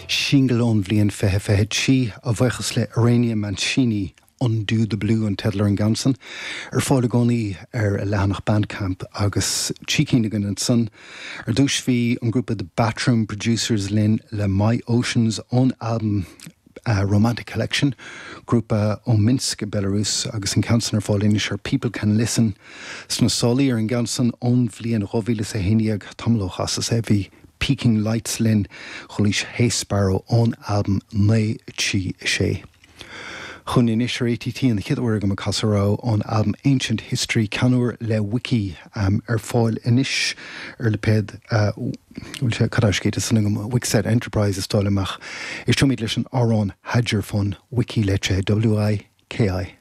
Singil ón bhliain 2023, a bhuíochas le Irenia Mancini, Undo the Blue an teideal ar an gceann san. Ar fáil i gcónaí ar a leathanach Bandcamp agus trí cinn againn ansan. Ar dtús bhí an grúpa The Batroom Producers linn le My Oceans ón albam Romantic Collection, grúpa ó Minsk i Belarus agus an ceann san ar fáil anois ar People Can Listen. Sna sálaí ar an gceann san ón bhliain 2011, tamall ó chasas é, bhí Peaking Lights linn, Chualaís Hey Sparrow ón albam 9 3 6. Chugainn anois ar ATT an chéad uair agam ag casadh rogha ón albam Ancient History, ceann úr le Wiki, ar fáil anois ar lipéad, bhfuil sé, cad é scríte ansan agam, Wixet Enterprise is dóigh liom ach éisteoimid leis an amhrán Had Your Fun, Wiki litrithe W-I-K-I.